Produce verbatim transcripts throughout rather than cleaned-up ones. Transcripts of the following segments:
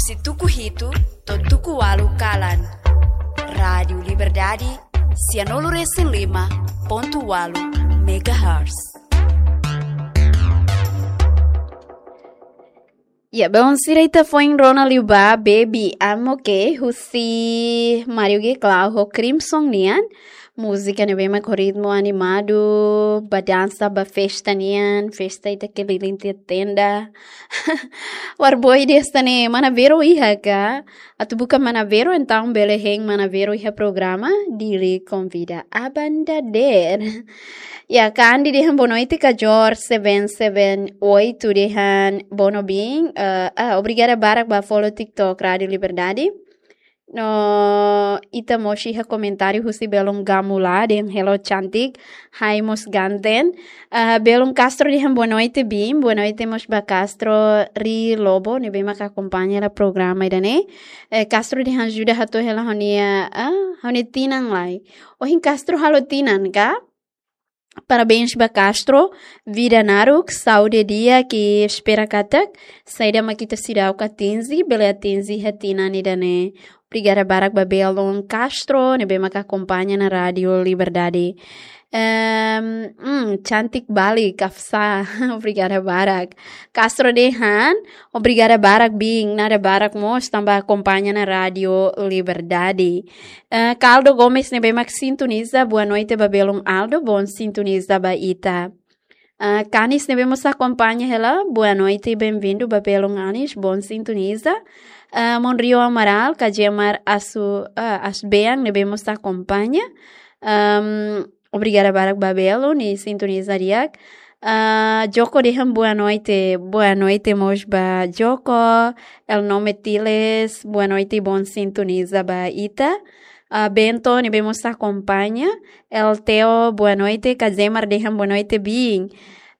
Husi tuku hitu to'o tuku ualu kalan. Rádiu Liberdade, sianulu resin lima pontu ualu megahertz. Ya, belun sira, ita foin rona liu ba Baby I'm Okay husi Mario G Clau ho Crimson nian. Múzika ne'ebé mak ho ritmu animadu, ba dansa, ba festa nian, festa ita keliling tiha tenda. Warboy, ida hanesan ne'e, Mana Vero iha ka? Atu buka Mana Vero, entaun bele hein Mana Vero iha programa Dili Konvida Aban Dadeer. Ya, Kandi dehan boa noite, Kajor seven seven oito dehan bono bin, eh, ah, obrigada barak ba follow TikTok Rádiu Liberdade. No ita mós iha komentáriu husi belun Gamula dehan hello cantik, hai mós ganten. Ah, belun Castro dehan boa noite bin, boa noite mós ba Castro Ri Lobo, ne'ebé mak akompaña hela programa ida-ne'e. Eh, Castro dehan ajuda hato'o hela ha'u-nia, ah, ha'u-nia tinan lai. Ohin Castro halo tinan ka? Parabéns ba Castro, vida naruk, saúde di'ak, i espera katak saida mak ita seidauk atinje, bele atinje iha tinan ida-ne'e. Obrigada barak ba belun Castro ne'ebé mak akompaña ona Rádiu Liberdade. Ehm, hmm, cantik Bali, Kafsa. Obrigada barak. Castro dehan, obrigada barak bin, nada barak mós tanba akompaña ona Rádiu Liberdade. Eh, Caldo Gomes ne'ebé mak sintoniza, boa noite ba belun Aldo, bom sintoniza ba ita. Eh, Canis ne'ebé mós akompaña hela, boa noite, bem-vindo ba belun Anis, bom sintoniza. Eh, Monrio Amaral, Kajemar Asu, eh, Asbean ne'ebé mós akompaña. Ehm, obrigada barak ba belun, nia sintoniza di'ak. Ah, Joko dehan boa noite, boa noite mós ba Joko. El Nome Tiles, boa noite, bom sintoniza ba ita. Ah, Bento ne'ebé mós akompaña. El Teo, boa noite, Kajemar dehan boa noite bin.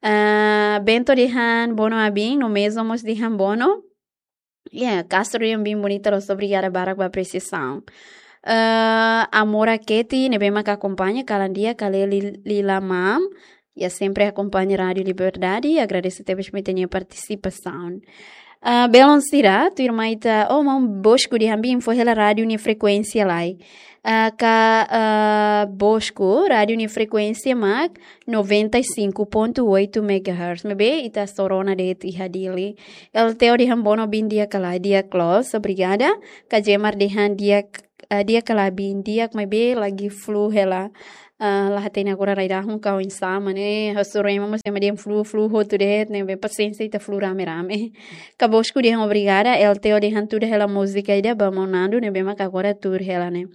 Ah, Bento dehan bono abin, no mezo mós dehan bono. Ya, Castro dehan bin bonita loos, obrigada barak ba apresiasaun. Eh, Amora Keti, ne'ebé mak akompaña, kalan di'ak, Kaleli Lila Mam. Ya, sempre akompaña Rádiu Liberdade, agradese tebes mai ita-nia partisipasaun. Eh, belun sira, tuirmai ita, oh, maun Bosco dehan bin fó hela rádiu nia frekuénsia lai. Eh, ka, eh, Bosco, rádiu nia frekuénsia mak noventa e cinco ponto oito megahertz. Maibé ita só rona de'it iha Dili. El Teo dehan bono bin di'ak ka lae, di'ak loos, obrigada. Kajemar dehan di'ak, eh, di'ak ka lae bin di'ak, maibé lagi flu hela. Ah, la hatene agora rai-rahun ka oinsá mak ne'e, hasoru ema mós ema dehan flu, flu hotu de'it, ne'ebé pasiénsia, ita flu rame-rame. Ka Bosco dehan obrigada, El Teo dehan tuda hela múzika ida ba maun Nando, ne'ebé mak agora tuur hela ne'e.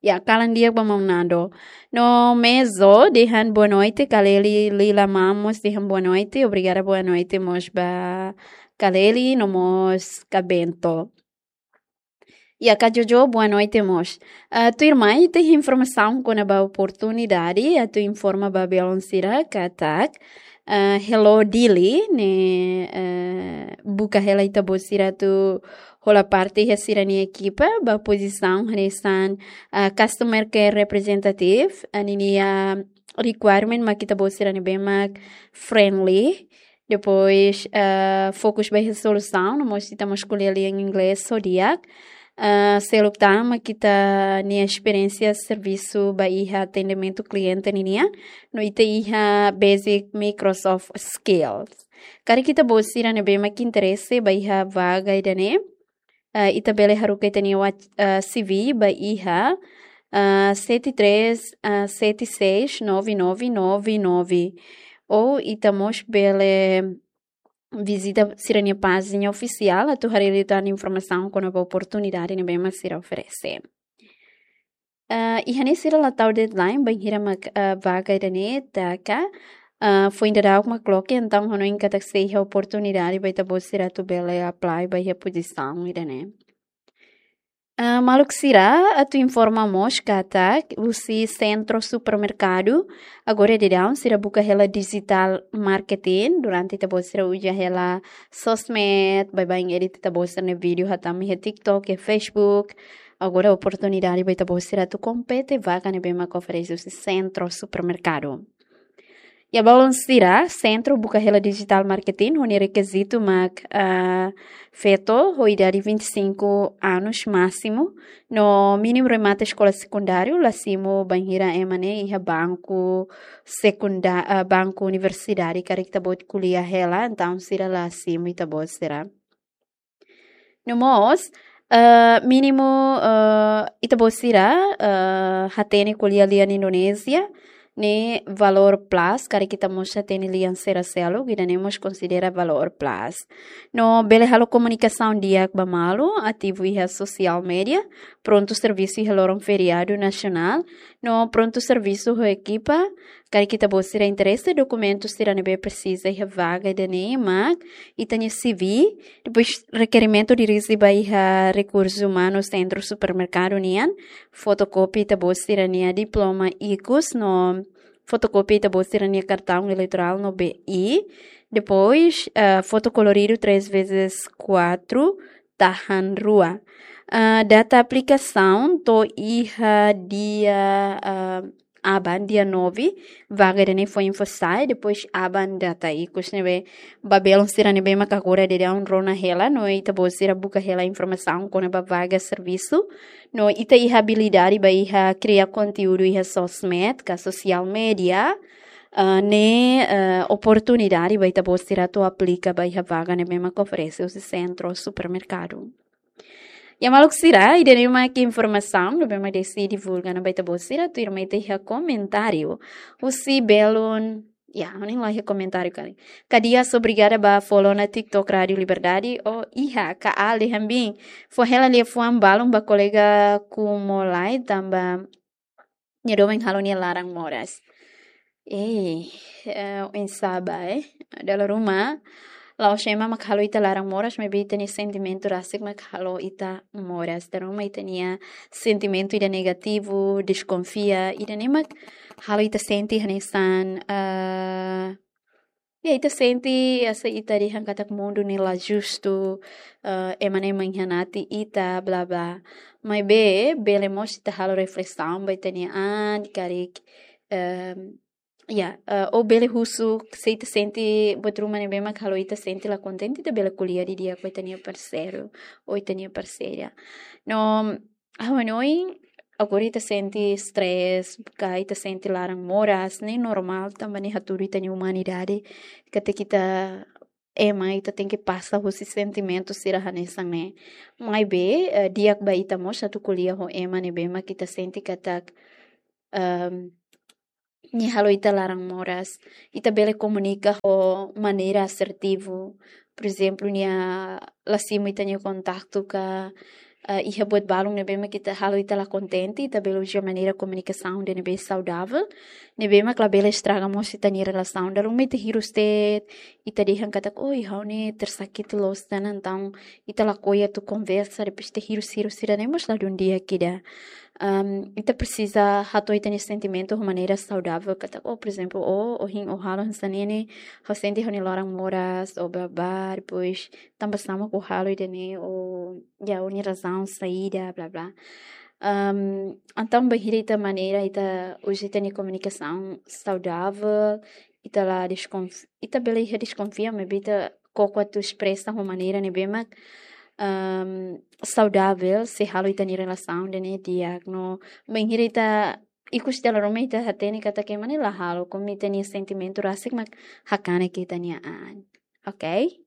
Ya, kalan di'ak ba maun Nando. No mezo dehan boa noite, Kaleli Lila Mam mós dehan boa noite, obrigada, boa noite mós ba Kaleli, no mós ka Bento. Ya, ka Jojo, boa noite mós. Ah, tuirmai ita iha informasaun kona-ba oportunidade, atu informa ba belun sira katak, ah, Hello Dili ne'e, eh, buka hela ita-boot sira atu hola parte iha sira-nia ekipa, ba pozisaun hanesan, ah, customer care representative, ah, ninia requirement mak ita-boot sira ne'ebé mak friendly, depois, ah, fokus ba iha solusaun, no mós ita mós ko'alia lian inglés ho di'ak. Ah, seluk tan mak ita-nia esperiénsia servisu ba iha atendimentu kliente ninian, no ita iha basic Microsoft skills. Karik ita-boot sira ne'ebé mak interese ba iha vaga ida-ne'e, eh, ita bele haruka ita-nia wa-, eh, C V ba iha, eh, sete três, eh, sete seis, nove nove nove nove. Ou ita mós bele vizita sira-nia pájina ofisiál atu haree liután informasaun kona-ba oportunidade ne'ebé mak sira oferese. Ah, iha ne'e sira la tau deadline bainhira mak, ah, vaga ida-ne'e taka, ah, foin daudauk mak loke, entaun ha'u hanoin katak sei iha oportunidade ba ita-boot sira atu bele apply ba iha pozisaun ida-ne'e. Ah, maluk sira, atu informa mós katak husi Centro Supermercado, agora daudaun sira buka hela digital marketing, durante ita-boot sira uza hela sosmed, baibain edit ita-boot sira-nia vídeo hatama iha TikTok, iha Facebook. Agora oportunidade ba ita-boot sira atu kompete vaga ne'ebé mak oferese husi Centro Supermercado. Ya, balun sira, Sentru buka hela digital marketing, ho nia rekizitu mak, ah, feto ho idade vinte e cinco anos másimu, no mínimu remata eskola sekundáriu, la simu bainhira ema ne'e iha banku sekunda-, ah, banku universidade, karik ita-boot ko'alia hela, entaun sira la simu ita-boot sira. No mós, ah, mínimu, ah, ita-boot sira, ah, hatene ko'alia lian Indonézia, ne'e valór plus, karik ita mós hatene lian sira seluk, ida-ne'e mós konsidera valór plus. No bele halo komunikasaun di'ak ba malu, ativu iha social media, prontu servisu iha loron feriadu nasionál, no prontu servisu ho ekipa, karik ita-boot sira interese, dokumentu sira ne'ebé presiza iha vaga ida-ne'e mak ita-nia C V, depois rekerimentu dirije ba iha rekursus umanus Sentru Supermerkadu nian, fotokópia ita-boot sira-nia diploma ikus, no fotokópia ita-boot sira-nia kartaun eleitorál no B I, depois, ah, foto koloridu três vezes quatro, tahan rua. Ah, data aplikasaun to'o iha dia, ah, aban, dia nove, vaga ida-ne'e foin fó sai, depois aban data ikus ne'ebé, ba belun sira ne'ebé mak agora daudaun rona hela, no ita-boot sira buka hela informasaun kona-ba vaga servisu, no ita iha abilidade ba iha kria konteúdu iha sosmed, ka social media, ah, ne'e, ah, oportunidade ba ita-boot sira atu aplika ba iha vaga ne'ebé mak oferese husi Sentru Supermerkadu. Ya maluk sira, ida-ne'e mak informasaun ne'ebé mak deside divulga ona ba ita-boot sira, tuirmai ita iha komentáriu husi belun, ya, ha'u hanoin la iha komentáriu karik. Kadias, obrigada ba follow ona TikTok Rádio Liberdade, o iha, ka ale hambin. Fó hela liafuan balun ba kolega Kumolai tanba nia doben halo nia laran moras. Eh, eh, oinsá ba, eh. Dala ruma, la'ós ema mak halo ita laran moras, maibé ita-nia sentimentu rasik mak halo ita moras. Dala ruma ita-nia sentimentu ida negativu, deskonfia, ida-ne'e mak halo ita sente hanesan, eh, ya, ita sente hanesan ita dehan katak mundu ne'e la justu, eh, ema ne'e mengkhianati ita, bla bla. Maibé, bele mós ita halo reflesaun ba ita-nia an, karik, em, ya, eh, ou bele husu, se ita sente buat ruma ne'ebé mak halo ita sente la kontente, ita bele ko'alia didi'ak ho ita-nia parseiru, ou ita-nia parseira. No, ha'u hanoin, agora ita sente stress, ka ita sente laran moras, ne'e normál, tanba ne'e hatudu ita-nia umanidade, katak ita ema, ita tenke pasa husi sentimentu sira hanesan ne'e. Maibé, eh, di'ak ba ita mós atu ko'alia ho ema ne'ebé mak ita sente katak, em, nia halo ita laran moras. Ita bele komunika ho maneira asertivu. Por ezemplu, nia la simu ita-nia kontaktu ka, eh, iha buat balun ne'ebé mak ita halo ita la kontente, ita bele uza maneira komunikasaun ida ne'ebé saudavel, ne'ebé mak labele estraga mós ita-nia relasaun. Dala ruma ita hirus de'it, ita dehan katak, "Oi, ha'u ne'e tersakiti loos ona," entaun ita lakohi atu konversa, depois ita hirus-hirus sira-ne'e mós ladún di'ak ida. Am, ita presiza hato'o ita-nia sentimentu ho maneira saudavel, katak, oh, por ezemplu, oh, ohin ó halo hanesan ne'e ne'e, ha'u sente ha'u-nia laran moras, ou bla bla, depois tanba sá mak ó halo ida-ne'e, ou, ya, ó-nia razaun saida, bla bla. Am, entaun, bainhira ita maneira, ita uza ita-nia komunikasaun saudavel, ita la deskonf-, ita bele iha deskonfia, maibé ita koko atu espresa ho maneira ne'ebé mak, am, saudavel, sei halo ita-nia relasaun ida-ne'e di'ak. No, bainhira ita ikus dala ruma ita hatene katak ema ne'e la halo, komu ita-nia sentimentu rasik mak hakanek ita-nia an. Oke?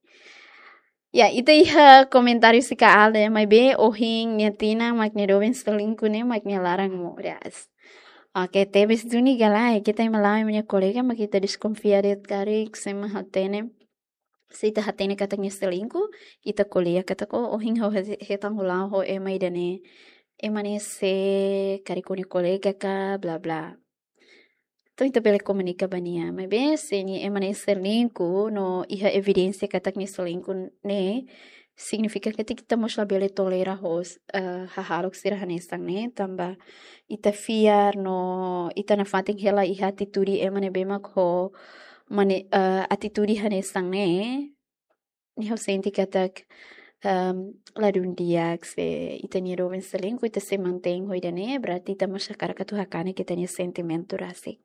Ya, ita iha komentáriu sira ka ale, maibé ohin nia tinan mak nia doben selingkuh ne'e mak nia laran moras. Oke, tebes duni ka lae, ita ema la'o ema nia kolega mak ita deskonfia de'it karik, se ema hatene. Se ita hatene katak nia selingkuh, ita ko'alia katak, "Oh, ohin ha'u he-, hetan ho la'o ho ema ida-ne'e. Ema ne'e sé, karik ó-nia kolega ka, bla bla." Entaun ita bele komunika ba nia. Maibé, se nia ema ne'e selingkuh, no iha evidénsia katak nia selingkuh ne'e, signifika katak ita mós labele tolera ho, eh, hahalok sira hanesan ne'e, tanba ita fiar no ita nafatin hela iha atitude ema ne'ebé mak ho mane-, eh, atitude hanesan ne'e, ne'e ha'u sente katak ehm, ladún di'ak, se ita-nia doben selingkuh, ita sei mantein ho ida-ne'e, berarti ita mós hakarak atu hakanek ita-nia sentimentu rasik.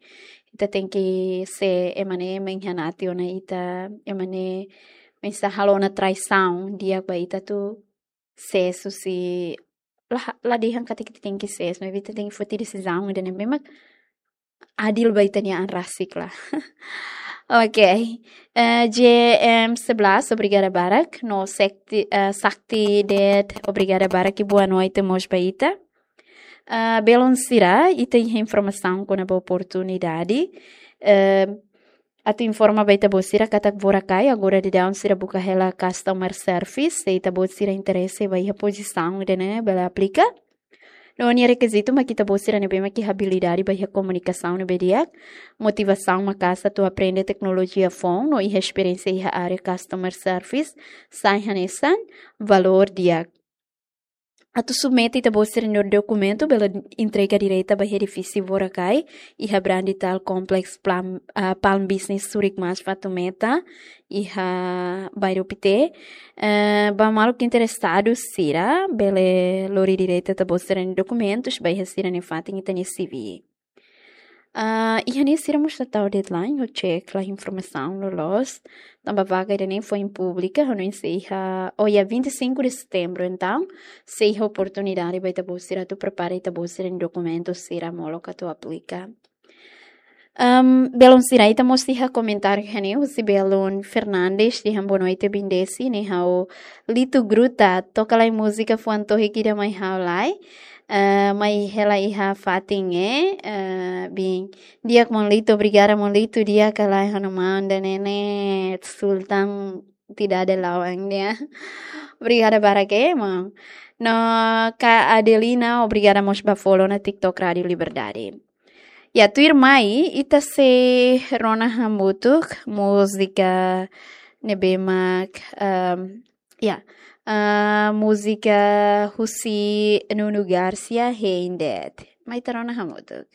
Ita tenke se ema ne'e mengkhianati ona ita, ema ne'e mensah halo ona traisaun di'ak ba ita atu sees husi, la, la dehan katak ita tenke sees, maibé ita tenke foti desizaun ida-ne'ebé mak adil ba ita-nia an rasik lah. Oke. Eh, J M sebelas, obrigada barak. No Sakti, eh, Sakti Ded, obrigada barak i boa noite mós ba ita. Eh, belun sira, ita iha informasaun kona-ba oportunidade. Eh, atu informa ba ita-boot sira katak Boracay agora daudaun sira buka hela customer service, se ita-boot sira interese ba iha pozisaun ida-ne'e bele aplika. No nia rekizitu mak ita-boot sira ne'ebé mak iha abilidade ba iha komunikasaun ne'ebé di'ak, motivasaun maka'as atu aprende teknolojia foun no iha esperiénsia iha área customer service, sai hanesan valór di'ak. Atu submete ita-boot sira-nia dokumentu bele entrega direta ba iha edifísiu Boracay, iha Brandital Complex Plum, ah, Palm Business Zurich Mas Fatumeta, iha bairru Pité. Eh, ba maluk interesadu sira, bele lori direta ita-boot sira-nia dokumentus ba iha sira-nia fatin, ita-nia C V. Ah, iha ne'e sira mós la tau deadline, ha'u cek la informasaun loloos. Tanba vaga ida-ne'e foin públika, ha'u hanoin sei iha, oh ya, vinte e cinco de setembro, entaun sei iha oportunidade ba ita-boot sira atu prepara ita-boot sira-nia dokumentu sira molok atu aplika. Ehm, belun sira, ita mós iha komentáriu iha ne'e husi belun Fernandes, dehan boa noite Bindesi, ne'e ha'u Lito Gruta, toka lai múzika fuan tohik ida mai ha'u lai. Eh, mai hela iha fatin ne'e, eh, bin. Di'ak maun Lito, obrigada maun Lito, di'ak ka lae ha'u-nia maun ida-ne'e ne'e, Sultan tidak ada lawan dia. Obrigada barak maun. No Ka Adelina, obrigada mós ba follow ona TikTok Rádio Liberdade. Ya, tuirmai, ita sei rona hamutuk múzika ne'ebé mak, ehm, ya, ah, múzika husi Nuno Garcia, Hein Deed. Mai ita rona hamutuk.